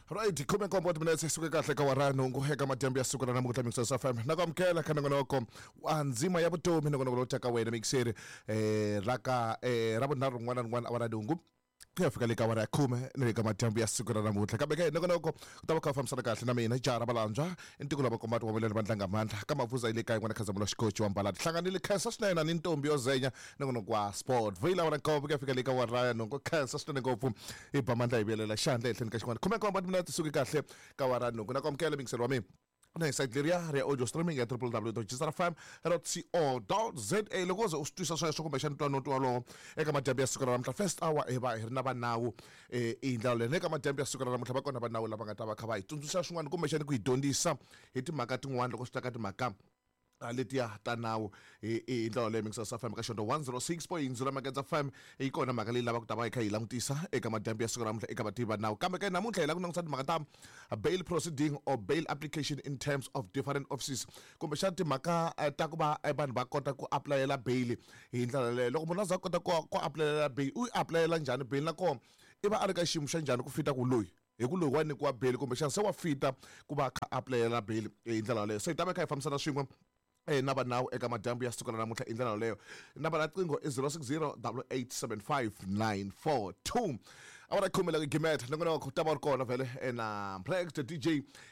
Right, 17 timinetse suke kahle ka wara nhungu eka madyambu ya siku ra namuntlha Mixers FM. Na ku amukela ka nongonoko wa ndzima ya vutomi, nongonoko lowu taka wena mixeri ra ka ra vunharhu rin'wana na rin'wana awara nhungu ku ya fika le ka awara ya khume ni le ka madyambu ya siku ra namuntlha. Kambe ke nongonoko ku ta va kha u fambisana kahle na mina jaha ra Valandzwa, i ntiko lava kombati wa vuleni va ndlanga mandla ka Mavuza yi le kaya n'wana Khazamula Xikochi wa Mbalati. Hlanganile khensa swinene ni ntombi yo zenya nongonoko wa Sport. Vuyile awara nkombo ku ya fika le ka awara ya nhungu. Khensa swinene ngopfu hi ba mandla hi vuyelela xandla ehenhleni ka xin'wana. 17 timinete suke kahle ka awara nhungu. Na ku amukela mingiselo wa mina na hi site leriya ri ya audio streaming ya www.gsrfm.co.za. Loko u ze u swi twisa sweswo kumbexana twa noti wolowo eka madyambu ya siku ra namuntlha, first hour hi va hi ri na vanawu hi ndlela leyi. Na eka madyambu ya siku ra namuntlha va kona vanawu lava nga ta va kha va hi tsundzuxa swin'wana kumbexana ku hi dyondzisa hi timhaka tin'wana loko swi ta ka timhaka letiya ta nawu hi ndlela leyi. Mixers FM ka xonto 106.0 Makedza FM yi kona mhaka leyi lavaka ku ta va hi kha hi langutisa eka madyambu ya siku ra namuntlha eka vativi va nawu. Kambe ke namuntlha hi lava ku langutisa timhaka ta bail proceeding or bail application in terms of different offices, kumbexana timhaka ta ku va vanhu va kota ku apulayela bail hi ndlela leyo. Loko munhu a za a kota ku apulayela bail, u yi apulayela njhani bail, nakona i va a ri ka xiyimo xa njhani ku fita ku loyi hi ku loyi wa nyikiwa bail kumbexana se wa fita ku va a kha apulayela bail hi ndlela yaleyo. So hi ta va kha hi fambisana swin'we na vanawu eka madyambu ya siku ra namuntlha hi ndlela yaleyo. Nambara ya qingho i 060 8875 942. Awara khume la gimeta nongonoko ta va ri kona vhele na Plex the DJ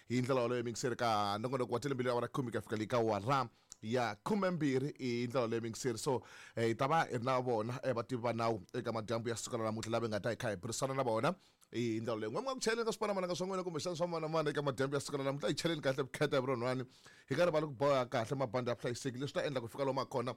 hi ndlela yaleyo mingiseri ka nongonoko wa telembili awara khume ku ya fika le ka awara ya 12 hi ndlela leyi mingiseri. So hi ta va hi ri na vona vativi va nawu eka madyambu ya siku ra namuntlha lava hi nga ta hi kha hi burisana na vona hi ndlela leyi. N'we mi nga ku cheleni ka swipanamananga swa n'wina kumbexana swa manamana eka madyambu ya siku ra namuntlha, hi cheleni kahle vukheta hi vurhonwani, hi nga rivali ku boha kahle mabandi ya vuhlayiseki. Leswi ta endla ku fika lomu a kona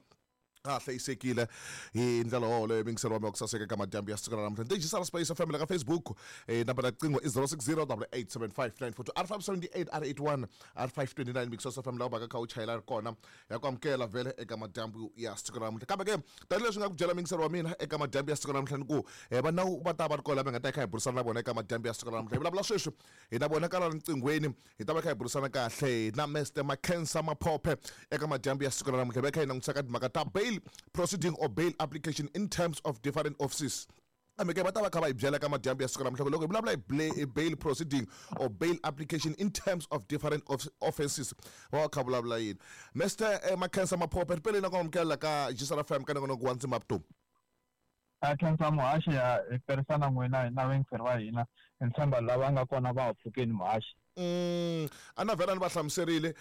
a hlayisekile hi ndlela yoleyo. Mingiselo wa mi wa ku saseka eka madyambu ya siku ra namuntlha. Ndejisara Space FM la ka Facebook, nambara ya qingho i 060 8875 942 R578 R81 R529. Mixos FM laha u vaka kha u chayela ri kona ya ku amukela vhele eka madyambu ya siku ra namuntlha. Kambe ke tanihileswi nga ku byela mingiselo wa mina eka madyambu ya siku ra namuntlha ni ku va nawu va ta va ri kona lava hi nga ta hi kha hi burisana na vona eka madyambu ya siku ra namuntlha. Hi vulavula sweswi hi na vona kala riqinghweni, hi ta va kha hi burisana kahle na Mr Makhensa Maphophe eka madyambu ya siku ra namuntlha. Hi va kha hi langutisa ka timhaka ta bail proceeding or bail application in terms of different offices. Kambe ke va ta va kha va hi byela ka madyambu ya siku ra namuntlha loko hi vulavula hi bail proceeding or bail application in terms of different offenses va va kha vulavula yini. Mr Makhensa Maphophe, ripeleni na ku amukela ka Gisela FM ka nongonoko wa ndzima vutomi. A khensa muhaxi ya hi tirhisana n'wina na vayingiseri va hina, hi tshemba lava nga kona va ha pfukeni muhaxi. A na vhela ni va hlamuserile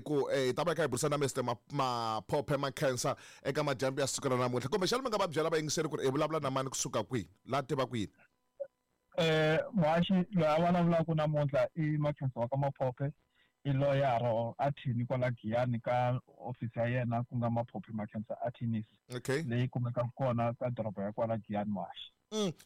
ku hi ta va hi kha hi burisana na Mr Maphophe Makhensa eka madyambu ya siku ra namuntlha. Kumbexana mi nga va byela vayingiseri ku ri hi vulavula na mani kusuka kwihi, laha tivaka yini? Muhaxi loyi a vulavulaka namuntlha i Makhensa wa ka Maphophe, i loyara or attorney kwala Giyani ka office ya yena ku nga Maphophe Makhensa Attorneys. Okay. Leyi kumekaka kona ka doroba ya kwala Giyani muhaxi.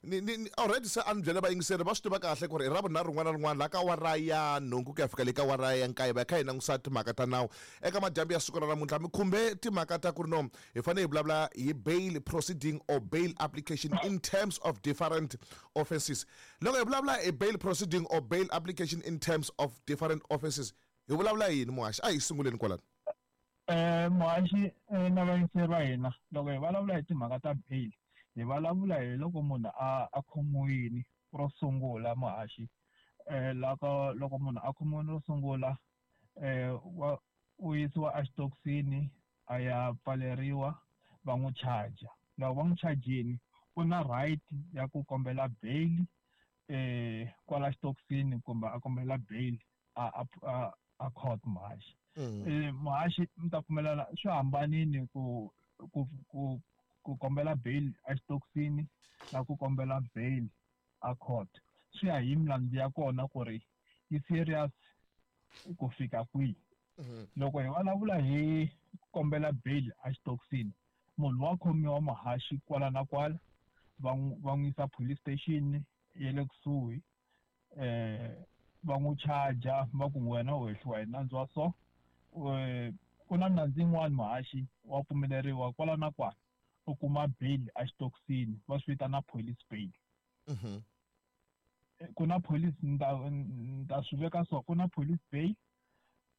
Ni already se a ni byele vayingiseri va swi tiva kahle ku ri hi ra vunharhu rin'wana na rin'wana laha ka awara ya nhungu ku ya fika le ka awara ya nkaye va kha hi langusa timhaka ta nawu. Eka madyambu ya siku ra namuntlha mi khumbe timhaka ta ku ri no hi fanele hi vulavula hi bail proceeding or bail application in terms of different offenses. Loko hi vulavula hi bail proceeding or bail application in terms of different offenses hi vulavula yini muhaxi? A hi sunguleni kwalano. Muhaxi na vayingiseri va hina, loko hi vulavula hi timhaka ta bail hi vulavula hi loko munhu a khomiwile ro sungula muhaxi. Loko loko munhu a khomiwile ro sungula wa u yisiwa exitokisini a ya pfaleriwa va n'wi charger. Loko va n'wi chajini u na right ya ku kombela bail kwala xitokisini kumbe a kombela bail a court muhaxi. Muhaxi mi ta pfumelana swi hambanile ku ku ku ku kombela bail exitokisini na ku kombela bail a court. Swi ya hi milandzu ya kona ku ri yi serious ku fika kwihi. Loko hi vulavula hi kombela bail exitokisini, munhu wa khomiwa muhaxi kwala na kwala, va n'wi yisa police station ya le kusuhi, va n'wi charger va ku wena u hehliwa hi nandzu wa so. Ku na nandzu yin'wani muhaxi wa pfumeleriwa kwala na kwala u kuma bail exitokisini, va swi vitana police bail. Ku na police, ni ta swi veka so, ku na police bail,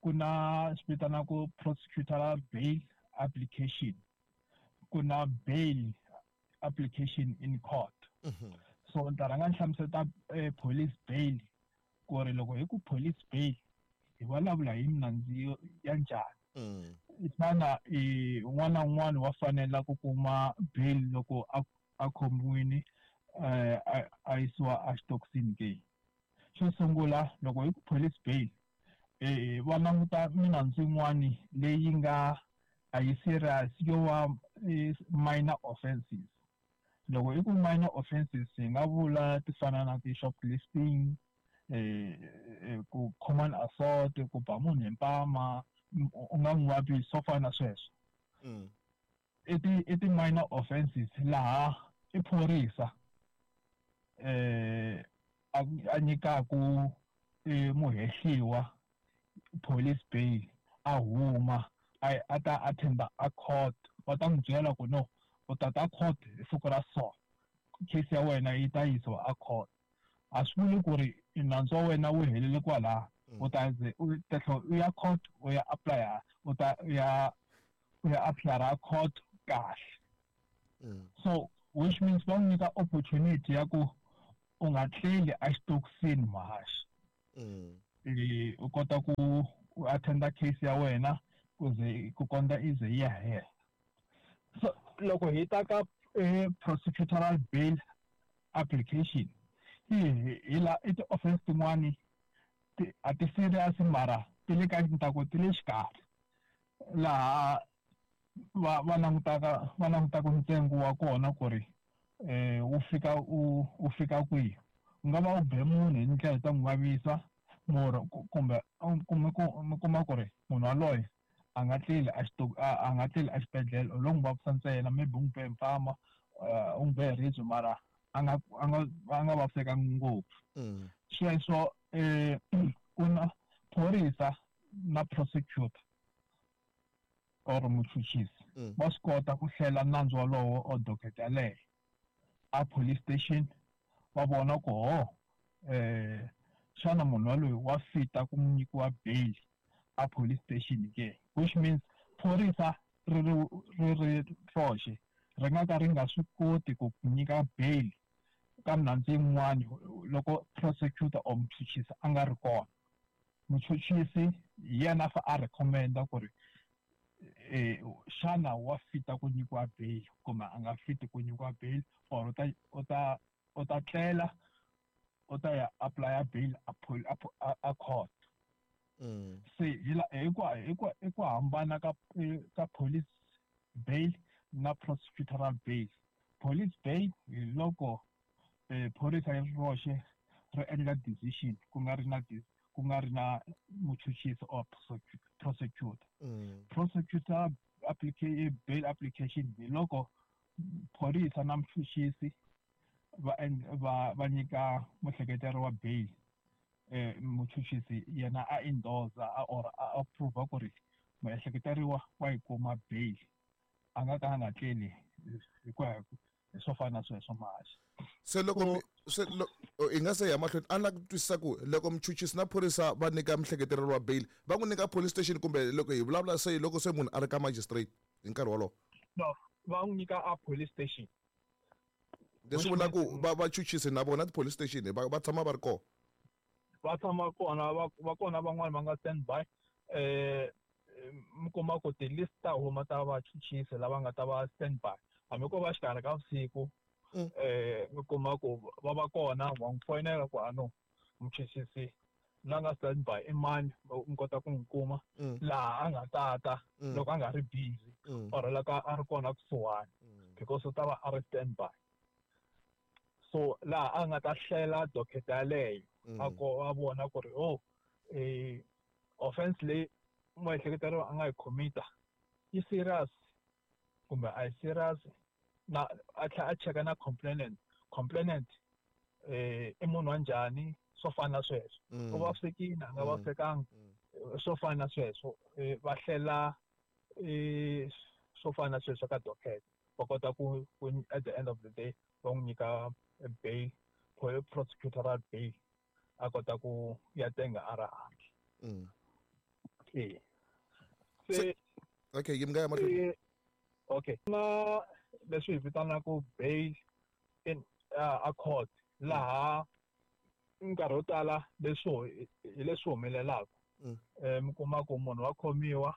ku na swi vitanaku prosecutorial bail application, ku na bail application in court. So ni ta rhanga ni hlamuseta police bail Ku ri loko hi ku police bail hi vulavula hi minandzu ya njhani. Xana un'wana na un'wana wa fanela ku kuma bail loko a khomiwile a yisiwa exitokisini ke? Xo sungula loko hi ku police bail va languta minandzu yin'wani leyi nga a yi serious, yo va minor offenses. Loko hi ku minor offenses hi nga vula ti fana na ti-shoplifting, ku common assault, ku ba munhu hi mpama u nga n'wi vavisi, swo fana na sweswo. I ti-minor offenses laha i phorisa a nyikaku muhehliwa police bail, a huma a ta attenda a court. Va ta n'wi byela ku no, u ta ta court hi siku ra so, case ya wena yi ta yisiwa a court. A swi vuli ku ri nandzu wa wena wu helele kwalaho, u ta ze u ta tlhela u ya court, u ya apply, u ta u ya apply court kahle. So which means va n'wi nyika opportunity ya ku u nga tleli exitokisini, muhaxi. U kota ku u attenda case ya wena ku ze ku kondza i ze yi ya hela. So loko hi ta ka prosecutorial bail application, hi la i ti-offense tin'wani a ti serious, mara ti le ka ntaku ti le xikarhi, laha va langutaka ntsengo wa kona ku ri wu fika kwihi. U nga va u be munhu hi ndlela ta n'wi vavisa murhu, kumbe mi kuma ku ri munhu waloye a nga tleli exibedhlele, u lo n'wi vavisa ntsena, maybe u n'wi be hi mpama, u n'wi be hi ribye, mara a nga vavisekanga ngopfu. Sweswo ku na phorisa na prosecutor or muchuchisi va swi kota ku hlela nandzu wolowo or docket yaleyo a police station, va vona ku ho xana munhu waloyi wa fita ku nyikiwa bail a police station ke, which means phorisa ri roxe ri nga ka ri nga swi koti ku nyika bail ka minandzu yin'wani loko prosecutor or muchuchisi a nga ri kona. Muchuchisi hi yena a fa a recommenda ku ri xana wa fita ku nyikiwa bail kumbe a nga fiti ku nyikiwa bail, or u ta tlela, u ta ya apply bail a court. Se hi ku hambana ka police bail na prosecutorial bail. Police bail hi loko phorisa ri roxe ri endla decision, ku nga ri na muchuchisi or prosecutor. Prosecutor bail application hi loko phorisa na muchuchisi va nyika muhleketeri wa bail, muchuchisi yena a endorse or a approve ku ri muehleketeriwa wa yi kuma bail, a nga ka a nga tleli hi ku ya hi swo fana na sweswo, mahaxi. Se loko se i nga se ya mahlweni, a ni lava ku twisisa ku loko muchuchisi na phorisa va nyika muhleketeleriwa wa bail, va n'wi nyika police station, kumbe loko hi vulavula se loko se munhu a ri ka magistrate hi nkarhi wolowo? No, va n'wi nyika a police station. Leswi vula ku va vachuchisi na vona ti-police station va tshama va ri kona? Va tshama kona, va kona van'wani va nga stand by. Mi kuma ku ti-list ta huma ta vachuchisi lava nga ta va stand by hambi ko va xikarhi ka vusiku. Mi kuma ku va va kona, wa n'wi foyinela ku ano muchuchisi la nga stand by i mani, mi kota ku n'wi kuma laha a nga tata loko a nga ri busy or loko a ri kona kusuhani, because u ta va a ri stand by. So laha a nga ta hlela docket yaleyo, a ko a vona ku ri oh, offense leyi muehleketeriwa a nga yi commita yi serious kumbe a yi serious, na a tlhela a cheka na complainant i munhu wa njhani, swo fana na sweswo, u vavisekile, a nga vavisekanga, swo fana na sweswo. Va hlela swo fana na sweswo ka docket, va kota ku at the end of the day va n'wi nyika bail, prosecutorial bail, a kota ku ya tenga a ri handle. Se Okay, yi mi nga ya mahlweni. Okay, na leswi hi vitanaka bail in a court, laha Nkarhi wo tala leswo hi leswi humelelaka. Mi kuma ku munhu wa khomiwa,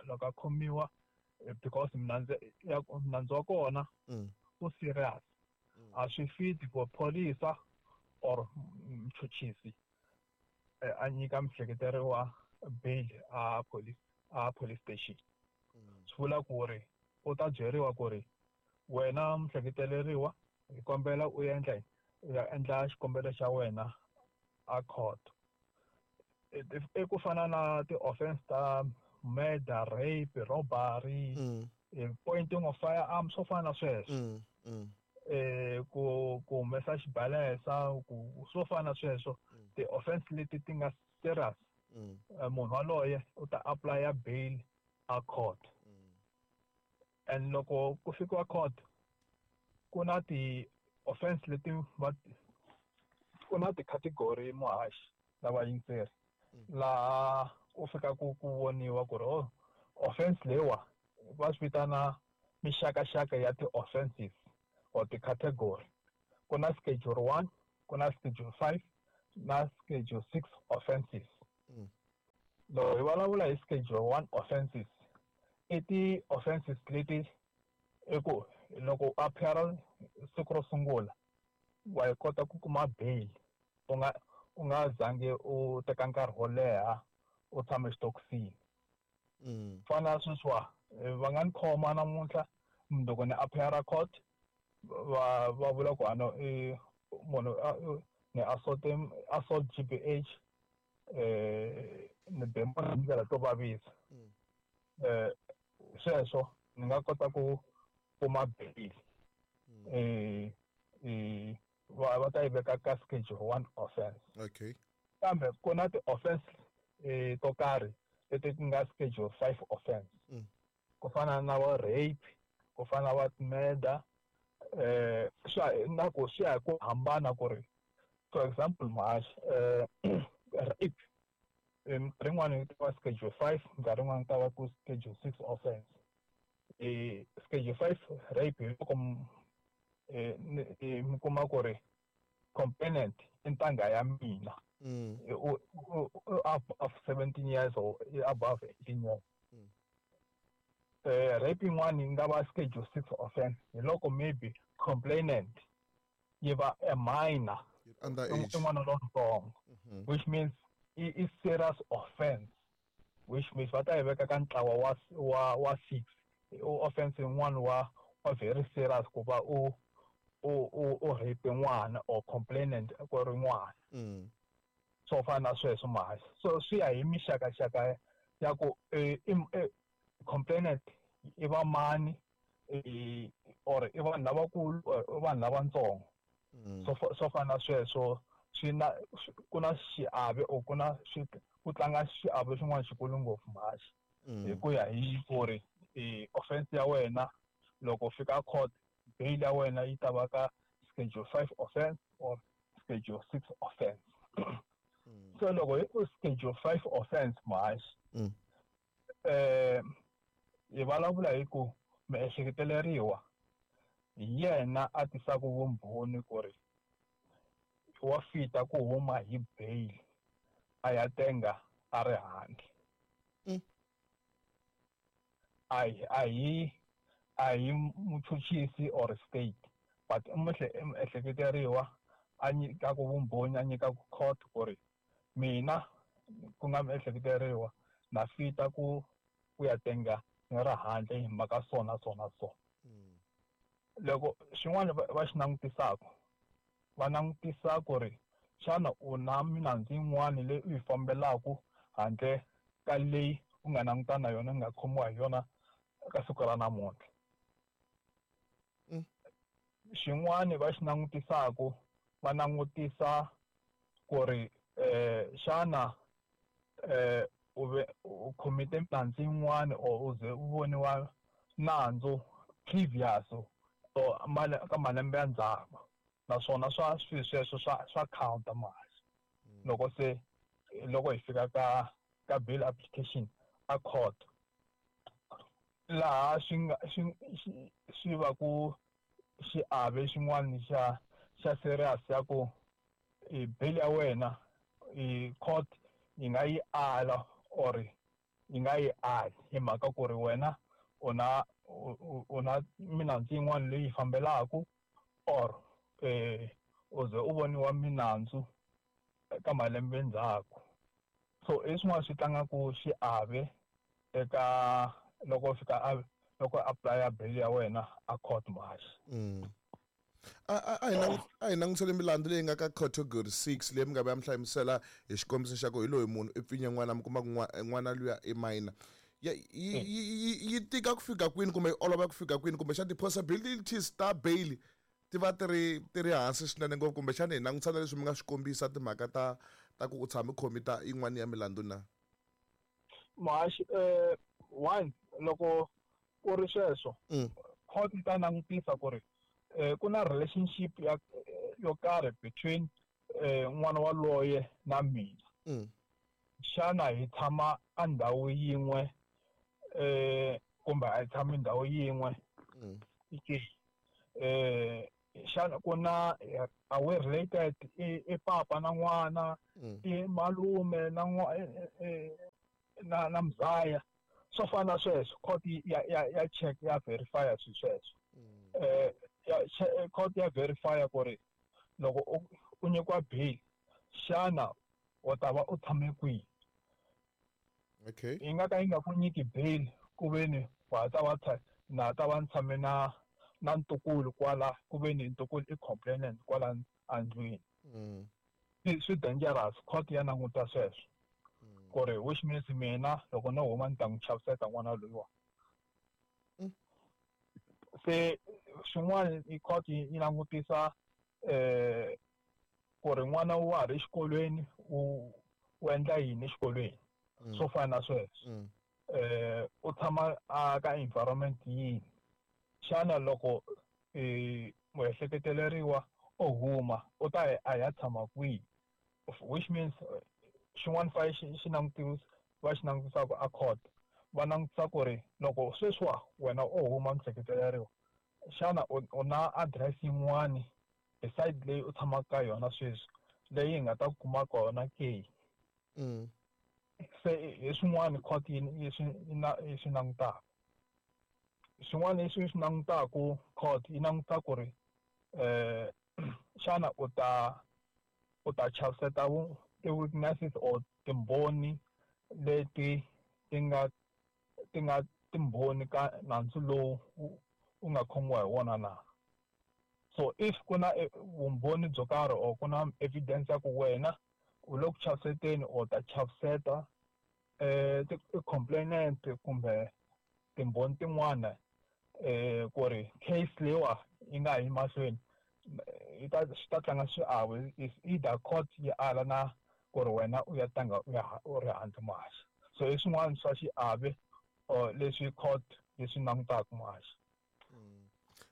loko a khomiwa because nandzu wa kona wu serious, a swi fiti ku phorisa or muchuchisi a nyika muehleketeriwa bail a police station. Swi vula ku ri u ta byeriwa ku ri wena muehleketeleriwa hi kombela u endla u ya endla xikombelo xa wena a court. I ku fana na ti-offense ta murder, rape, robbery, pointing of firearm, swo fana na sweswo. Ku humesa xibalesa, ku swo fana na sweswo. Ti-offense leti ti nga serious, munhu waloye u ta apply bail a court. And loko ku fikiwa court, ku na ti-offense leti ku na ti-category muhaxi lava yingiseri laha ku fika ku voniwa ku ri offense leyiwa va swi vitana mixakaxaka ya ti-offenses or ti-category. Ku na schedule 1, ku na schedule 5 na schedule 6 offenses. Loko hi vulavula hi schedule 1 offenses, i ti-offenses leti i ku loko u appear siku ro sungula wa yi kota ku kuma bail u nga zangi u teka nkarhi wo leha u tshama exitokisini. Fana sweswiwa va nga ni khoma namuntlha loko ni appear court va vula ku ano munhu ni assault GBH, ni be munhu hi ndlela to vavisa. Sweswo ni nga kota ku kuma bail. Va ta yi veka ka schedule 1 offense. Okay. Kambe ku na ti-offense to karhi leti ti nga schedule 5 offense. Ku fana na va rape, ku fana na va murder, na ku swi ya hi ku hambana ku ri for example muhaxi, rape minkarhi yin'wani yi ta va schedule 5, minkarhi yin'wani yi ta va ku schedule 6 offense. Schedule 5 rape hi loko mi kuma ku ri complainant i ntangha ya mina, above 17 years or above 18 years. Rape yin'wani yi nga va schedule 6 offense hi loko maybe complainant yi va a minor, i n'wana lontsongo, which means i serious offense, which means va ta yi veka ka ntlawa wa 6. Offense yin'wana wa very serious ku va u rape n'wana or complainant ku ri n'wana. Swo fana na sweswo muhaxi. So swi ya hi mixakaxaka ya ku complainant i va mani, or i vanhu lavakulu or i vanhu lavatsongo. Swo fana na sweswo swi na ku na xiave or ku na ku tlanga xiave xin'wana xikulu ngopfu muhaxi. Hi ku ya hi ku ri offense ya wena loko fika court, bail ya wena yi ta va ka schedule 5 offense or schedule 6 offense. So loko hi ku schedule 5 offense muhaxi, hi vulavula hi ku miehleketeleriwa hi yena a tisaka vumbhoni ku ri wa fita ku huma hi bail a ya tenga a ri handle. A hi muchuchisi or state, but miehleketeriwa a nyikaku vumbhoni, a nyikaku court ku ri mina ku nga miehleketeriwa na fita ku ya tenga ni ri handle hi mhaka sona sona so. Loko xin'wana va xi langutisaka, va langutisa ku ri xana u na milandzu yin'wana leyi u yi fambelaka handle ka leyi u nga langutana na yona, u nga khomiwa hi yona ka siku ra namuntlha. Xin'wana va xi langutisaka, va langutisa ku ri xana u commit-e milandzu yin'wana or u ze u voniwa nandzu previous or ka malembe ya ndzhaku, naswona swa swilo sweswo swa counta muhaxi. Loko se loko hi fika ka bail application a court, laha swi nga swi va ku xiave xin'wana xa serious ya ku Bail ya wena i court yi nga yi ala or yi nga yi ali hi mhaka ku ri wena u na milandzu yin'wana leyi fambelaka or u ze u voniwa milandzu ka malembe ndzhaku. So i swin'wana swi tlangaku xiave eka loko fika loko apply bail ya wena a court muhaxi. A hi langutisele milandzu leyi nga ka category 6 leyi mi nga va mi hlamusela hi xikombiso xa ku hi loyi munhu i pfinye n'wana mi kuma ku n'wana luya i minor. Yi tika ku fika kwini kumbe yi olova ku fika kwini kumbe xa ti-possibilities ta bail ti va ti ri hansi swinene ngopfu kumbexana hi langutisana leswi mi nga swi kombisa timhaka ta ku u tshame khomita yin'wana ya milandzu na? Muhaxi, one loko ku ri sweswo court yi ta langutisa ku ri ku na relationship ya yo karhi between n'wana waloye na mina. Xana hi tshama endhawu yin'we kumbe a hi tshami ndhawu yin'we? Xana ku na are we related i papa na n'wana i malume na na mzaya swo fana na sweswo. Court ya check ya verify swi sweswo. Court ya verify ku ri loko u nyikiwa bail xana u ta va u tshame kwihi. Okay. Yi nga ka yi nga ku nyiki bail ku veni wa ta va na ta va tshame na ntukulu kwala ku veni ntukulu i complainant kwala andlwini. Swi dangerous, court ya languta sweswo ku ri which means mina loko no huma ni ta n'wi chaviseta n'wana loyiwa. Se swin'wana i court yi langutisa ku ri n'wana wa ha ri exikolweni u endla yini exikolweni swo fana na sweswo. U tshama ka environment yini. Xana loko muehleketeleriwa o huma u ta a ya tshama kwihi, which means xin'wana fa xi langutisa va xi langutisaka a court va langutisa ku ri loko sweswiwa wena u huma muehleketeleriwa xana u na address yin'wani beside leyi u tshamaka ka yona sweswi leyi hi nga ta kuma kona ke. Se hi swin'wana court yi swi langutaka. Swin'wana leswi swi langutaka court yi languta ku ri xana u ta chaviseta ti-witnesses or timbhoni leti ti nga timbhoni ka nandzu lowu u nga khomiwa hi wona na. So if ku na vumbhoni byo karhi or ku na evidence ya ku wena u le ku chaviseteni or ta chaviseta ti-complainant kumbe timbhoni tin'wana ku ri case leyiwa yi nga yi mahlweni yi ta swi ta tlanga xiave is either court yi ala na ku ri wena u ya tlanga u ya u ri handle muhaxi. So i swin'wana swa xiave or leswi court yi swi langutaka muhaxi.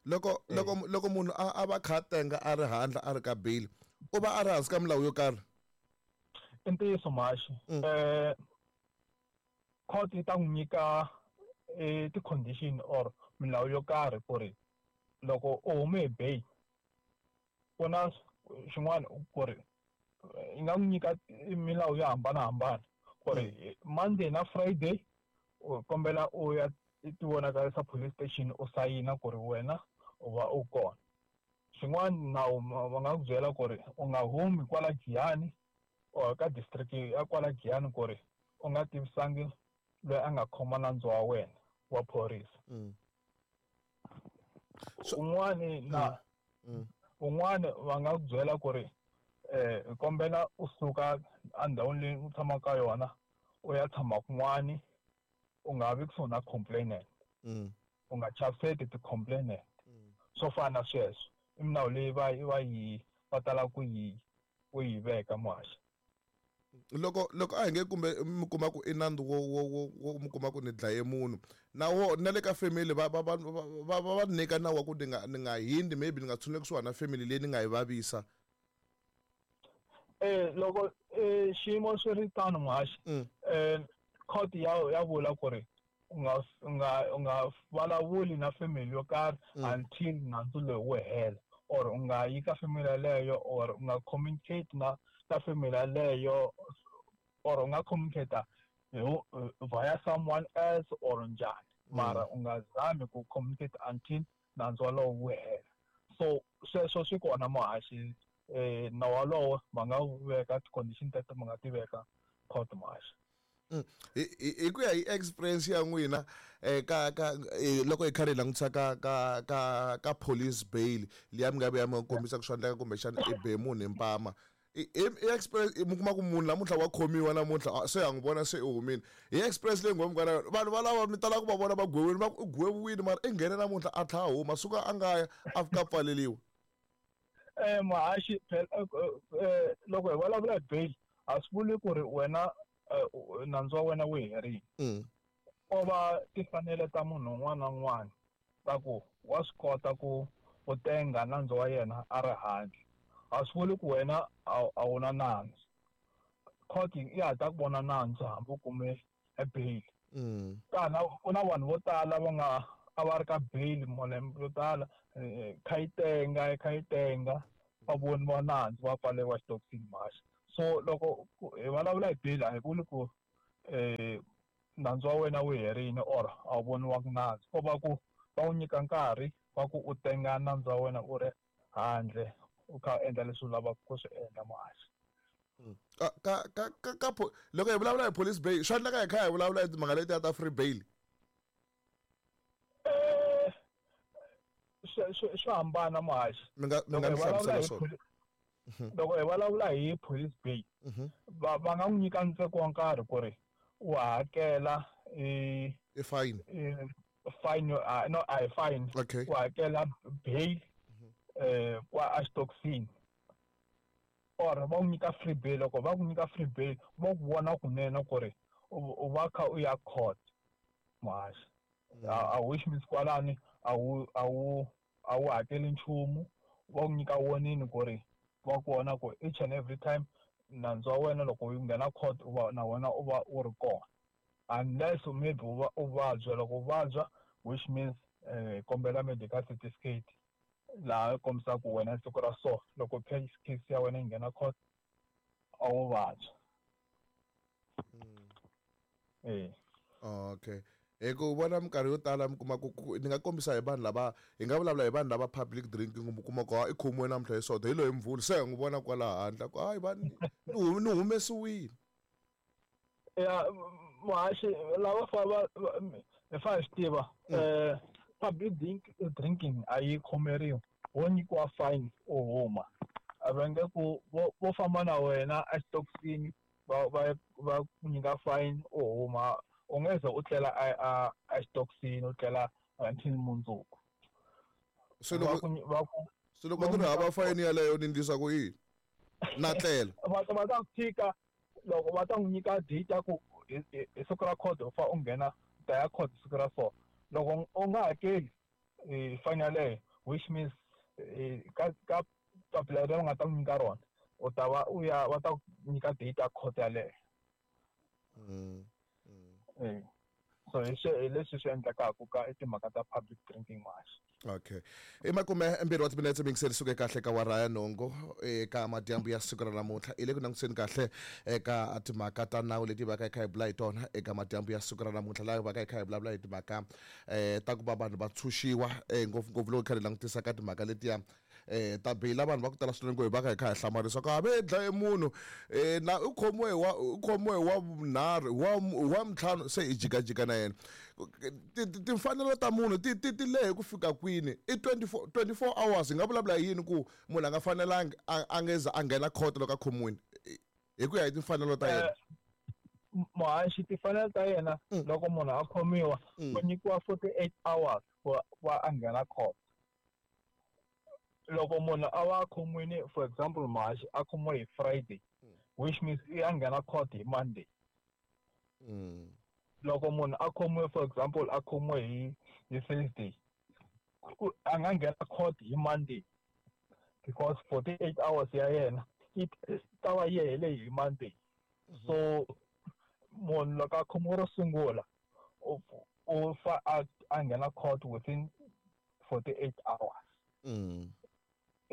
Loko munhu a va kha tenga a ri handle a ri ka bail u va a ri hansi ka milawu yo karhi? I ntiyiso muhaxi. Court yi ta n'wi nyika ti-condition or milawu yo karhi ku ri loko u hume hi bail ku na xin'wana ku ri yi nga n'wi nyika milawu yo hambanahambana ku ri Monday na Friday u kombela u ya ti vonakarisa police station u sayina ku ri wena u va u kona. Xin'wana nawu va nga ku byela ku ri u nga humi kwala Giyani or ka district ya kwala Giyani ku ri u nga tivisangi loyi a nga khoma nandzu wa wena wa phorisa. Un'wani na un'wana va nga ku byela ku ri kombela u suka endhawini leyi u tshamaka ka yona u ya tshama kun'wani u nga vi kusuhi na complainant, u nga chaviseti ti-complainant swo fana na sweswo. I milawu leyi va tala ku yi veka muhaxi. Loko a hi nge kumbe mi kuma ku i nandzu wo mi kuma ku ni dlaye munhu na wo na le ka family va nyika nawu wa ku ni nga hindi maybe ni nga tshuneli kusuhana na family leyi ni nga yi vavisa. Loko xiyimo swi ri tano muhaxi, court ya vula ku ri u nga vulavuli na family yo karhi until nandzu lowu wu hela or u nga yi ka family yaleyo or u nga communicate na ta family yaleyo or u nga communicate via someone else or njhani, mara u nga zami ku communicate until nandzu walowo wu hela. So sweswo swi kona muhaxi, nawu walowo va nga veka ti-condition teto, va nga ti veka court muhaxi. Hi ku ya hi experience ya n'wina, ka ka loko hi karhi hi langutisa ka police bail liya mi nga vuya mi kombisa ku swa endleka kumbexana i be munhu hi mpama, i experience mi kuma ku munhu namuntlha wa khomiwa namuntlha se ha n'wi vona se i humile, hi experience leyi nghomi ka na yona, vanhu valava mi tala ku va vona va gweviwile, va ku i gweviwile mara i nghene namuntlha a tlhela a huma suka a nga ya a fika a pfaleliwa? Muhaxi, phela loko hi vulavula hi bail a swi vuli ku ri wena nandzu wa wena wu herile. Ko va timfanelo ta munhu un'wana na un'wana ta ku wa swi kota ku u tenga nandzu wa yena a ri handle. A swi vuli ku wena a wu na nandzu. Court ya ha ta ku vona nandzu hambi u kume e bail. Kana ku na vanhu vo tala va nga a va ri ka bail malembe yo tala, kha yi tenga, kha yi tenga, va voniwa nandzu va pfaleriwa xitokisini muhaxi. So loko hi vulavula hi bail a hi vuli ku nandzu wa wena wu herile or a wu voniwanga nandzu, ko va ku va wu nyika nkarhi wa ku u tenga nandzu wa wena u ri handle u kha u endla leswi u lavaka ku swi endla muhaxi. Ka ka ka ka loko hi vulavula hi police bail swa endleka hi kha hi vulavula hi timhaka letiya ta free bail? Swi hambana muhaxi. Mi nga Loko ni hi vulavula hlamusela hi swona? Loko hi vulavula hi police bail, va nga n'wi nyika ntsengo wa nkarhi ku ri u hakela I fine. Fine, no, a hi fine. Okay. U hakela bail, kwa a xitokisini. Or va ku nyika free bail. Loko va ku nyika free bail, va ku vona kunene ku ri u va kha u ya court muhaxi. A which means kwalani a wu hakeli nchumu, va ku nyika warning ku ri va ku vona ku each and every time nandzu wa wena loko u nghena court u va na wena u va u ri kona, unless maybe u va u vabya. Loko u vabya, which means kombela medical certificate laha kombisaka ku wena siku ra so loko case ya wena yi nghena court a wu vabya. Okay. Hi ku vona minkarhi yo tala mi kuma ku ni nga kombisa hi vanhu lava hi nga vulavula hi vanhu lava public drinking, mi kuma ku i khomiwe namuntlha hi soda hi loyi Mvhulu, se hi n'wi vona kwala handle ku hayi va ni humesiwile. Ya muhaxi, lava fa va hi fa hi swi tiva, public drinking a yi khomeriwi, wo nyikiwa fine u huma. A va nge ku vo famba na wena exitokisini va ku nyika fine u huma, u nge ze u tlela a xitokisini, u tlela until mundzuku. Se Va ku va ku loko va ni ri ku hava nyika fayini yaleyo ni endlisa ku yini? Na tlela. Va ta ku tshika loko va ta n'wi nyika date ya ku hi siku ra court u fa u nghena, u ta ya court siku ra so. Loko u nga hakeli fine yaleyo, which means ka papila leri va nga ta n'wi nyika rona, u ta va u ya, va ta ku nyika date ya court yaleyo. So hi leswi swi endlekaka ka i timhaka ta public drinking muhaxi. Okay. I makume mbirhi wa timinetse mi yingiseri suke kahle ka wara ya nhungu eka madyambu ya siku ra namuntlha. I le ku langutiseni kahle eka timhaka ta nawu leti va ka hi kha hi bula hi tona eka madyambu ya siku ra namuntlha, laha va ka hi kha hi vulavula hi timhaka ta ku va vanhu va tshunxiwa, ngopfungopfu loko hi kha hi langutisa ka timhaka letiya ta bail. Vanhu va ku tala swinene ku hi va ka hi kha hi hlamarisa ku a ve dlaye munhu, na u khomiwe hi wa, u khomiwe hi wa vunharhu, wa ntlhanu, se hi jikajika na yena. Timfanelo ta munhu ti lehe ku fika kwini? I 24 hours. Hi nga vulavula hi yini ku munhu a nga fanelangi a nge za a nghena court loko a khomiwile? Hi ku ya hi timfanelo ta yena. Muhaxi, timfanelo ta yena loko munhu a khomiwa, u nyikiwa 48 hours ku va a nghena court. Loko munhu a va a khomiwile, for example, muhaxi a khomiwe hi Friday, which means i a nghena court hi Monday. Loko munhu a khomiwe, for example, a khomiwe hi Thursday, a nga nghena court hi Monday because 48 hours ya yena yi ta va yi hele hi Monday. So munhu loko a khomiwe ro sungula, u fa a nghena court within 48 hours.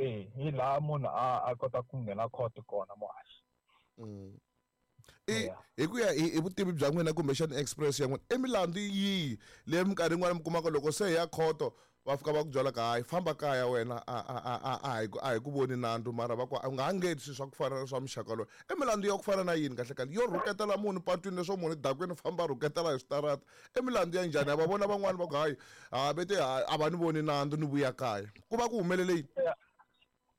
Hi laha munhu a kota ku nghena court kona muhaxi. Hi ku ya hi vutivi bya n'wina kumbexana express ya n'wina, i milandzu yihi leyi minkarhi yin'wana mi kumaka loko se hi ya khoto va fika va ku byela ka hayi famba kaya wena a hi ku voni nandzu, mara va ku u nga ha ngheni swilo swa ku fana na swa muxaka lowu? I milandzu ya ku fana na yini kahle kahle? Yo rhuketela munhu patwini leswo munhu dakwini famba rhuketela hi switarata, i milandzu ya njhani? Ha va vona van'wani va ku hayi ha ve te a va ni voni nandzu ni vuya kaya, ku va ku humelele yini?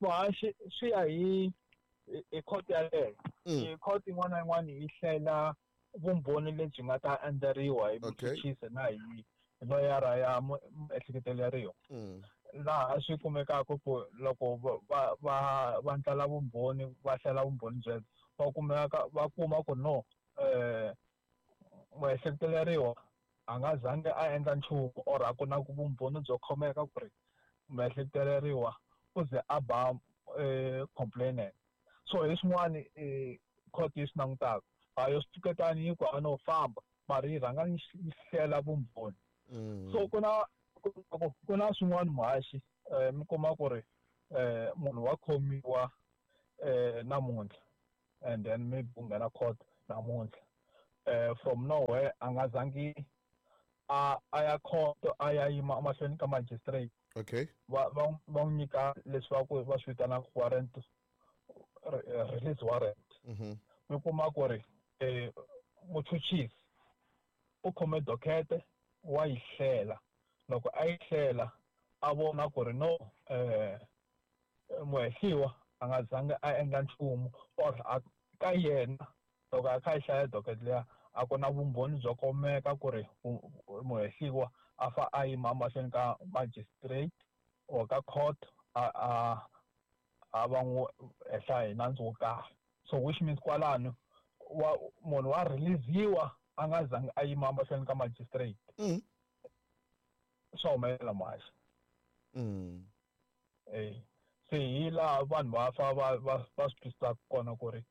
Muhaxi, swi ya hi court yaleyo. Court yin'wana na yin'wana yi hlela vumbhoni lebyi nga ta endleriwa hi muchuchisi na hi loyara ya muehleketeleriwa. Laha swi kumekaka ku loko va ndlala vumbhoni, va hlela vumbhoni byebyo, va kuma ku no muehleketeleriwa a nga zangi a endla nchumu or a ku na vumbhoni byo khomeka ku ri muehleketeleriwa u ze a ba complainant. So hi swin'wana court yi swi langutaka, a yo swi pfuketani yi ku a no famba, mara yi rhanga yi hlela vumbhoni. So ku na swin'wana muhaxi, mi kuma ku ri munhu wa khomiwa namuntlha and then maybe u nghena court namuntlha, from nowhere a nga zangi a ya court a ya yima emahlweni ka magistrate. Okay. Va n'wi nyika leswi va ku va swi vitanaka warrant, release warrant. Mi kuma ku ri muchuchisi u khome dokete wa yi hlela. Loko a yi hlela a vona ku ri no muhehliwa a nga zangi a endla nchumu or ka yena loko a kha a hlaya docket liya a ku na vumbhoni byo komeka ku ri muhehliwa a fa a yima mahlweni ka magistrate or ka court a va n'wi hehla hi nandzu wo karhi. So which means kwalano munhu wa release-iwa a nga zangi a yima mahlweni ka magistrate. Swa humelela muhaxi. Se hi laha vanhu va fa va swi twisisaka kona ku ri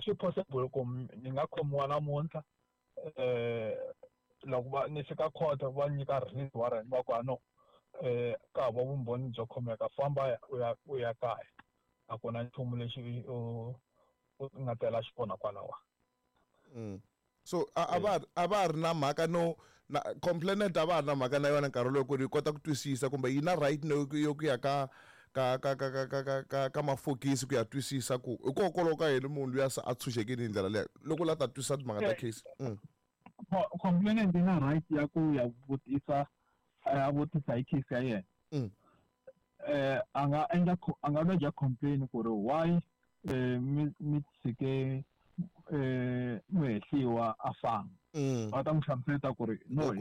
swi possible ku ni nga khomiwa namuntlha, loko ni fika court va nyika release warrant va ku no ka hava vumbhoni byo khomeka, famba u ya kaya, a ku na nchumu lexi u nga tela xikona kwalawa. So a va ri na mhaka no na complainant a va ri na mhaka na yona nkarhi lowu ku ri kota ku twisisa kumbe yi na right no yo ku ya ka ka ka ka ka ka ka ka mafokisi ku ya twisisa ku hikokwalaho ka yini munhu luya se a tshunxekile hi ndlela leyo loko la ta twisisa timhaka ta case. Complainant yi na right ya ku ya vutisa a vutisa hi case ya yena. A nga endla a nga lodge complaint ku ri why mi tshike muhehliwa a famba. Va ta n'wi hlamusela ku ri no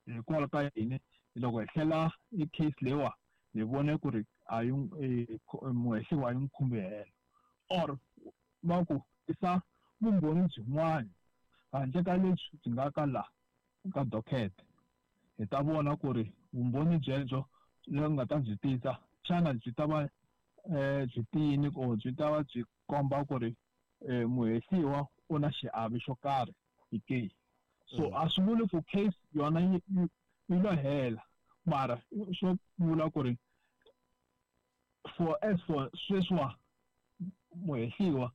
hikwalaho ka yini loko hi hlela i case leyiwa hi vone ku ri a yi muhehliwa a yi n'wi khumbi helo, or va ku tisa vumbhoni byin'wana handle ka lebyi byi nga ka la ka docket, hi ta vona ku ri vumbhoni byebyo lebyi nga ta byi tisa xana byi ta va byi tiyini or byi ta va byi komba ku ri muhehliwa u na xiave xo karhi hi case. So a swi vuli ku case yona yi lo hela, mara swo vula ku ri for as for sweswiwa muhehliwa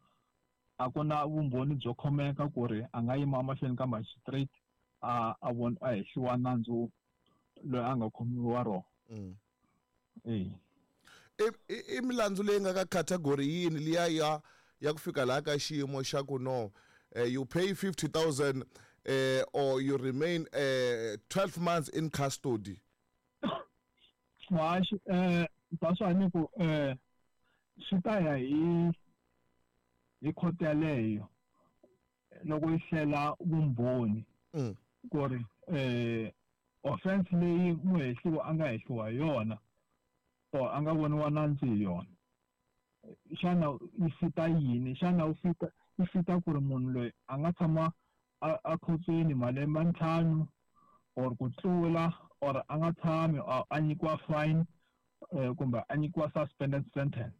a ku na vumbhoni byo khomeka ku ri a nga yima emahlweni ka magistrate a a hehliwa nandzu loyi a nga khomiwa rona. I milandzu leyi nga ka category yini liya ya ku fika laha ka xiyimo xa ku no you pay 50,000 or you remain 12 months in custody? Muhaxi, that's why ni ku swi ta ya hi court yaleyo loko yi hlela vumbhoni ku ri offense leyi muhehliwa a nga hehliwa hi yona or a nga voniwa nandzu hi yona, xana yi fita yini? Xana u fita yi fita ku ri munhu loyi a nga tshama a khotsweni malembe 5 or ku tlula, or a nga tshami a nyikiwa fine kumbe a nyikiwa suspended sentence.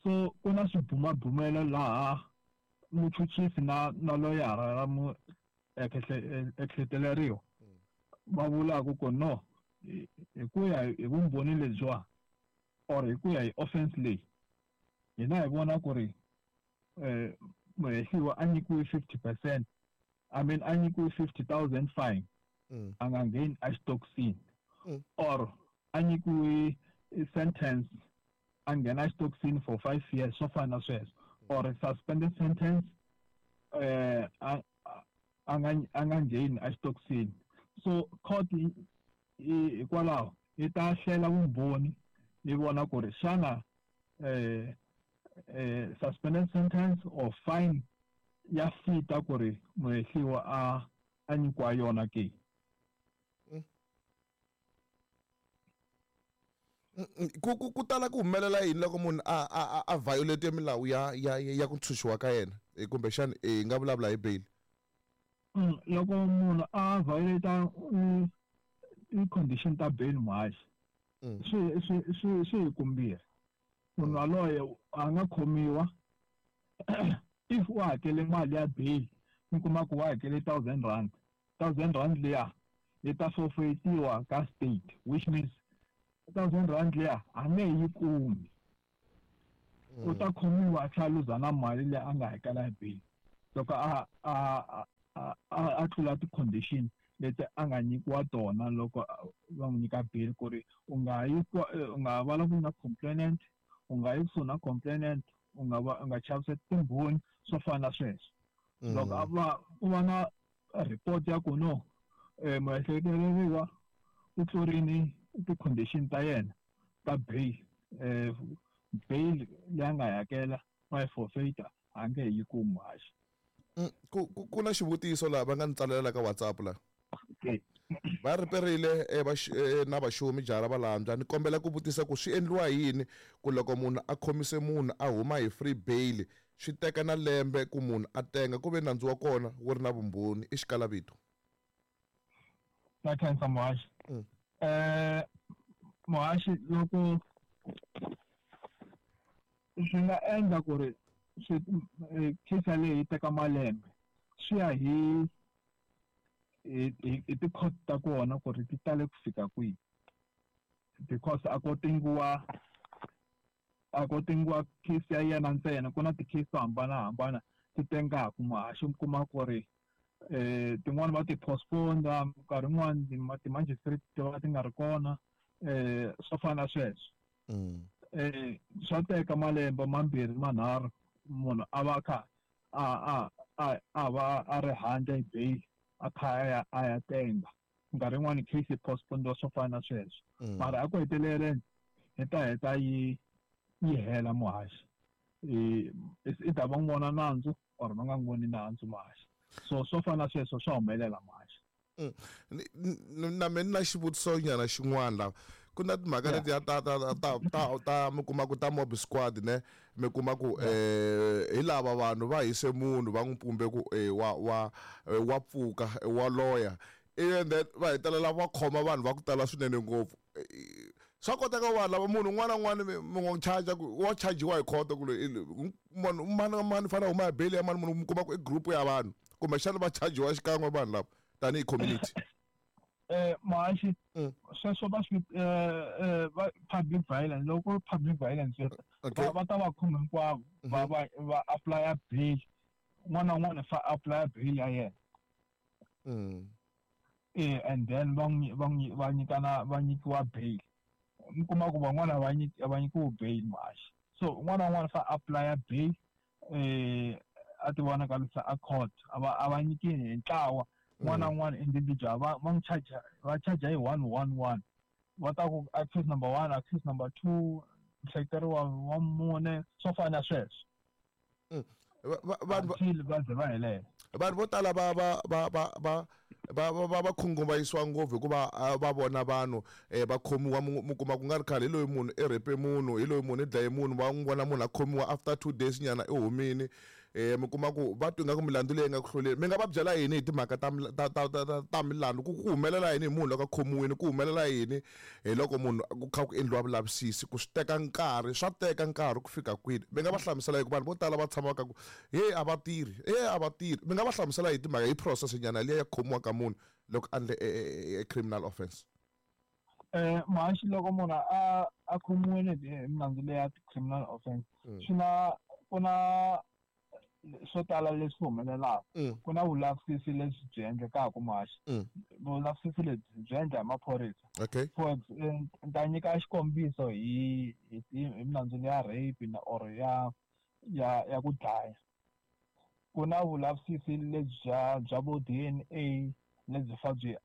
So ku na swibumabumelo laha muchuchisi na loyara ra muehleketeleriwa va vulaka ku no hi ku ya hi vumbhoni lebyiwa Or hi ku ya hi offense leyi hina hi vona ku ri muhehliwa a nyikiwe 50%, I mean a nyikiwe 50,000 fine, a nga ngheni exitokisini, or a nyikiwe sentence a nghena exitokisini for 5 years, swo fana na sweswo, or suspended sentence a nga ngheni exitokisini. So court hikwalaho yi ta hlela vumbhoni yi vona ku ri xana suspended sentence or fine ya fita ku ri muhehliwa a nyikiwa yona ke. Ku tala ku humelela yini loko munhu a violate milawu ya ku ntshunxiwa ka yena, kumbexana hi nga vulavula hi bail? Loko munhu a violate i-condition ta bail muhaxi, swi hi kumbirhi. Munhu yaloye a nga khomiwa if u hakele mali ya bail, mi kuma ku wa hakele 1,000 rand, 1,000 rand liya yi ta forfeitiwa ka state, which means 1,000 rand liya a nge yi kumi. U ta khomiwa a tlhela luza na mali leyi a nga hakela hi bail loko a tlula ti-condition leti a nga nyikiwa tona loko va n'wi nyika bail, ku ri u nga yi u nga vulavuli na complainant, u nga yi kusuhi na complainant, u nga chaviseti timbhoni, swo fana na sweswo. Loko a va ku va na report ya ku no muehleketeleriwa u tlurini ti-condition ta yena ta bail, bail leyi a nga yi hakela va yi forfeita, a nge yi kumi muhaxi. Ku na xivutiso laha va nga ni tsalela ka WhatsApp la. Va riperile na vaxumi jara va landza, ni kombela ku vutisa ku swi endliwa yini ku loko munhu a khomise munhu a huma hi free bail swi teka na lembe ku munhu a tenga ku ve nandzu wa kona wu ri na vumbhoni, i xikalavito? Na khensa muhaxi. Muhaxi, loko swi nga endla ku ri case leyi yi teka malembe, swi ya hi ti-court ta kona ku ri ti tale ku fika kwihi, because a ko tengiwa case ya yena ntsena, ku na ti-case to hambanahambana ti tengaka muhaxi. Mi kuma ku ri tin'wani va ti postpone, nkarhi wun'wani ti-magistrate ti va ti nga ri kona, swo fana na sweswo. Swa teka malembe mambirhi manharhu munhu a va kha a va a ri handle hi bail, a kha a ya tenga. Nkarhi wun'wani case yi postpone, swo fana na sweswo. Mara a ku heteleleni hi ta heta yi hela muhaxi, i ta va n'wi vona nandzu or va nga n'wi voni nandzu muhaxi. So swo fana na sweswo swa humelela muhaxi. Na mina na xivutiso nyana xin'wana la, ku na timhaka letiya ta mi kuma ku ta mob squad ne, mi kuma ku hi lava vanhu va hise munhu va n'wi pumbe ku wa pfuka wa loya, and then va hetelela va khoma vanhu va ku tala swinene ngopfu. Swa koteka vanhu lava munhu un'wana na un'wana mi n'wi charge ku wa chajiwa hi khoto ku munhu mani mani fanele huma hi bail ya mani, munhu mi kuma ku i group ya vanhu kumbexana va chajiwa xikan'we vanhu lava tanihi community. Muhaxi, sweswo va swi public violence, loko public violence va ta va khoma hinkwavo, va apply bail, un'wana na un'wana fa apply bail ya yena. And then va nyikana va nyikiwa bail. Mi kuma ku van'wana va nyikiwi bail muhaxi. So un'wana na un'wana fa apply bail, a ti vonakarisa a court, a va nyiki hi ntlawa, un'wana na un'wana individual va n'wi charge, va charge hi 1 1 1. Va ta ku accused number 1, accused number 2, muhleketeriwa wa mune, swo fana na sweswo. Vanhu va ze va helela. Vanhu vo tala va khunguvanyisiwa ngopfu hikuva va vona vanhu va khomiwa, mi kuma ku nga ri khale hi loyi munhu i rhepe munhu, hi loyi munhu i dlaye munhu, va n'wi vona munhu a khomiwa after 2 days nyana i humini. Mi kuma ku va twa ingaku milandzu leyi nga ku hluleni. Mi nga va byela yini hi timhaka ta milandzu, ku humelela yini hi munhu loko a khomiwile, ku humelela yini hi loko munhu ku kha ku endliwa vulavisisi, ku swi teka nkarhi, swa teka nkarhi ku fika kwini? Mi nga va hlamusela hi ku vanhu vo tala va tshama ka ku he a va tirhi, he a va tirhi. Mi nga va hlamusela hi timhaka hi process nyana liya ya khomiwa ka munhu loko a endle criminal offense? Muhaxi, loko munhu a khomiwile hi milandzu leya criminal offense, swi na ku na swo tala leswi humelelaka. Ku na vulavisisi lebyi byi endlekaka, muhaxi. Vulavisisi lebyi byi endla hi maphorisa. For ni ta nyika xikombiso hi milandzu ya rape na or ya ku dlaya. Ku na vulavisisi lebyi bya vo DNA lebyi fa byi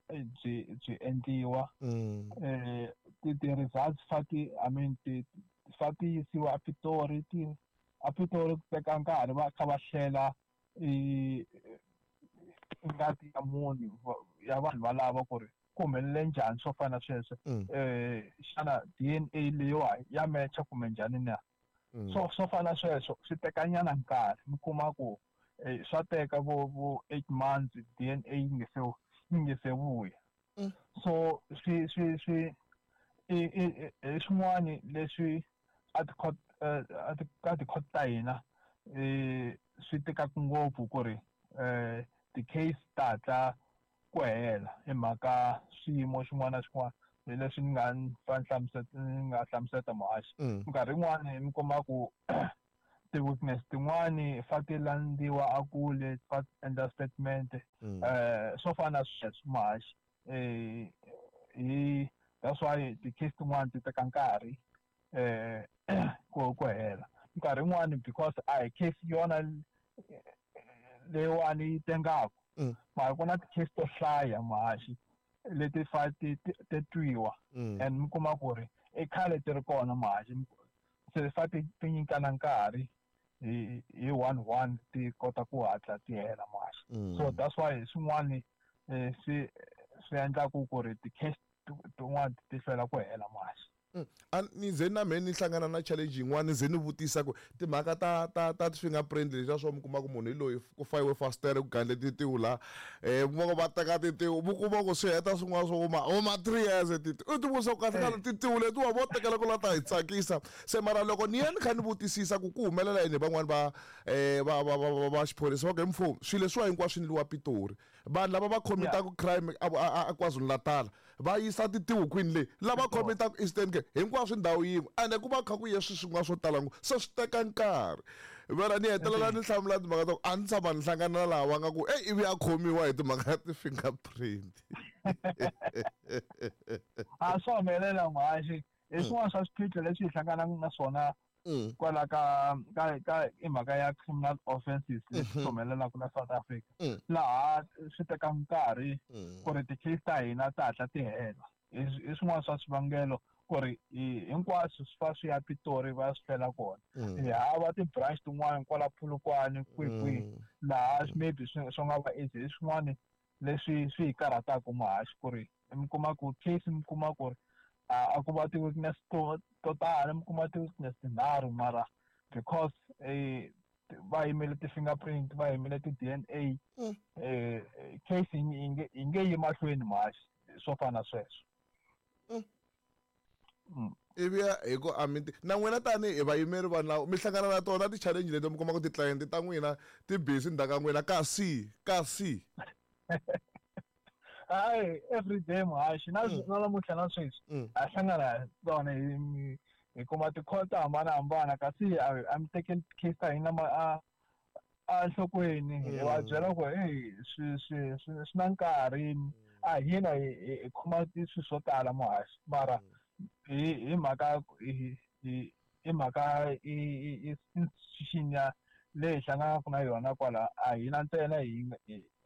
endliwa. Ti results fa ti, I mean, ti fa ti yisiwa a Pitori. Ti a Pitori ku teka nkarhi va kha va hlela i ngati ya munhu, ya vanhu valava ku ri ku humelele njhani, swo fana na sweswo. Xana DNA leyiwa ya mecha kumbe njhani na? So swo fana na sweswo swi teka nyana nkarhi. Mi kuma ku swa teka vo 8 months DNA yi nge se vuya. So swi i swin'wani leswi a ti-court, a ti ka ti-court ta hina swi tikaka ngopfu ku ri ti-case ta hatla ku hela, hi mhaka swiyimo xin'wana na xin'wana hi leswi ni nga fa hlamuseta, ni nga hlamuseta, muhaxi. Minkarhi yin'wani mi kuma ku ti-witness tin'wani fa ti landziwa a kule, fa endla statement. Swo fana na sweswo, muhaxi. Hi that's why ti-case tin'wani ti teka nkarhi ku hela minkarhi yin'wani, because a hi case yona leyiwani yi tengaku. Mara ku na ti-case to hlaya, muhaxi, leti fa ti twiwa. And mi kuma ku ri i khale ti ri kona, muhaxi, se fa ti nyikana nkarhi hi one one ti kota ku hatla ti hela, muhaxi. So that's why swin'wani swi endlaku ku ri ti-case tin'wani ti hlwela ku hela, muhaxi. A ni ze na mehe ni hlangana na challenge yin'wana, ni ze ni vutisa ku timhaka ta ti-fingerprint leswiya swo mi kuma ku munhu hi loyi, ku fayiwe fastere, ku gandle titiwu la, mi kuma ku va teka titiwu, mi kuma ku swi heta swin'wana swo huma 3 years titiwu. U ti vutisa ku kahle kahle titiwu letiwa vo tekela ku la ta hi tsakisa se. Mara loko ni ya ni kha ni vutisisa ku ku humelela yini, van'wani va xiphorisa va ku hi mfumo swilo leswiwa hinkwaswo swi endliwa Pitori. Vanhu lava va khomitaka crime a KwaZulu Natal va yisa titiwu kwini, leyi lava khomitaka Eastern Cape, hinkwaswo ndhawu yin'we, ende ku va kha ku ye swi swin'wana swo tala ngopfu, se swi teka nkarhi. Vela ni hetelela ni hlamula timhaka ta ku a ni tshama ni hlangana na laha va nga ku eyi, ivi a khomiwa hi timhaka ta ti-fingerprint. A swa humelela, muhaxi. Hi swin'wana swa swiphiqo leswi hi hlanganaka na swona kwala ka i mhaka ya criminal offenses leswi humelelaka la South Africa, laha swi teka nkarhi ku ri ti-case ta hina ta hatla ti hela. Hi swin'wana swa swivangelo ku ri hinkwaswo swi fa swi ya Pitori, va swi hlela kona. Hi hava ti-branch tin'wani kwala Polokwane, kwihi kwihi, laha maybe swi nga va easy. Hi swin'wani leswi swi hi karhataka, muhaxi, ku ri mi kuma ku case, mi kuma ku ri a ku va ti-witness to tala, mi kuma ti-witness tinharhu, mara because va yimele ti-fingerprint, va yimele ti-DNA, case yi nge yi mahlweni, muhaxi, swo fana na sweswo. Ivi ya hi ku a mi na n'wina tanihi vayimeri va nawu mi hlangana na tona ti-challenge leti, mi kuma ku ti-client ta n'wina ti busy ndzhaku ka n'wina kasi? Hayi, every day, muhaxi. Na namuntlha na sweswi ha hlangana tona. Hi kuma ti-call to hambanahambana, kasi a mi tekeli case ta hina a nhlokweni. Hi va byela ku hey, swi na nkarhi. A hina hi khoma swilo swo tala, muhaxi, mara hi mhaka hi mhaka i institution ya leyi hi hlanganaka na yona kwala, a hina ntsena hi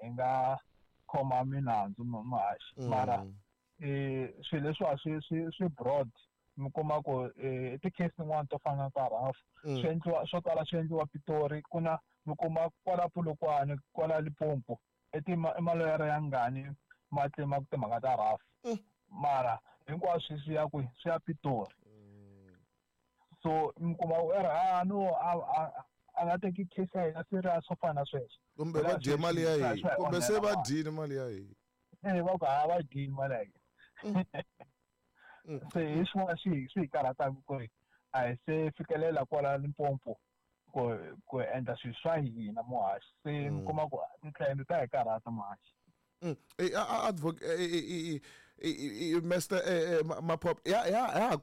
nga khoma milandzu, muhaxi. Mara swilo leswiwa swi broad. Mi kuma ku ti-case tin'wani to fana na ta RAF, swi endliwa swo tala, swi endliwa Pitori. Ku na mi kuma kwala Polokwane, kwala Limpopo, i maloyara ya ngani ma claim-aka timhaka ta RAF, mara hinkwaswo swi ya kwihi? Swi ya Pitori. So mi kuma ku a no a nga teki case ya hina serious, swo fana na sweswo. Kumbe va dye mali ya hina, kumbe se va dyile mali ya hina. Va ku ha va dyini mali ya hina. Se hi swin'wana swi hi karhataka ku ri a hi se fikelela kwala Limpopo ku endla swilo swa hina, muhaxi. Se mi kuma ku ti-client ta hi karhata, muhaxi. Advocate Mr Maphophe, ya ya ha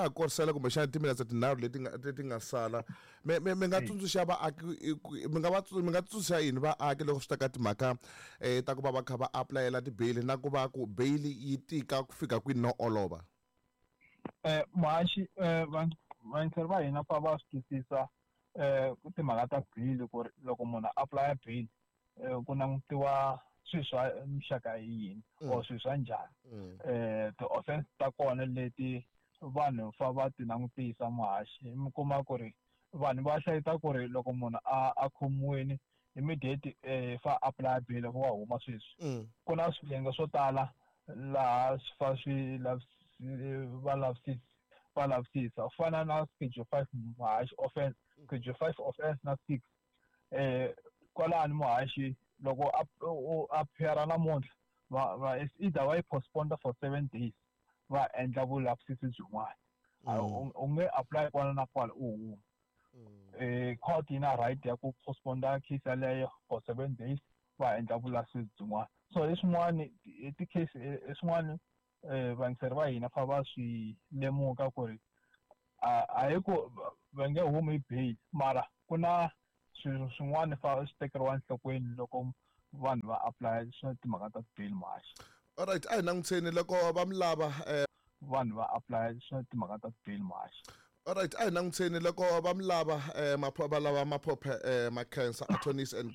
korisela kumbexana timinetse tinharhu leti nga sala, mi nga tsundzuxa vaaki, mi nga tsundzuxa yini vaaki loko swi ta ka timhaka ta ku va va kha va apulayela tibeyili, na ku va ku beyili yi tika ku fika kwini no olova? Muhaxi, vayingiseri va hina fa va swi twisisa timhaka ta bail, ku ri loko munhu a apply bail ku langutiwa swilo swa muxaka yini or swilo swa njhani, ti-offense ta kona leti vanhu fa va ti langutisa. Muhaxi, mi kuma ku ri vanhu va hleketa ku ri loko munhu a khomiwini, immediate fa apply bail wa huma sweswi. Ku na swiyenge swo tala laha swi fa swi va lavisisa, va lavisisa u fana na schedule 5, muhaxi, offense schedule 5 offense na 6. Kwalani, muhaxi, loko u appear namuntlha, va it's either va yi postpone for 7 days, va endla vulavisisi byin'wana. U nge apply kwala na kwala u huma. Court yi na right ya ku postpone case yaleyo for 7 days, va endla vulavisisi byin'wana. So hi swin'wani ti-case, i swin'wani vayingiseri va hina fa va swi lemuka ku ri a hi ku va nge humi hi bail, mara ku na swilo swin'wana fa swi tekeriwa enhlokweni loko vanhu va apply swa timhaka ta bail, muhaxi. Alright, a hi langutiseni loko va mi lava. Vanhu va apply swa timhaka ta bail, muhaxi. Alright, a hi langutiseni loko va mi lava, va lava Maphophe Makhensa Attorneys and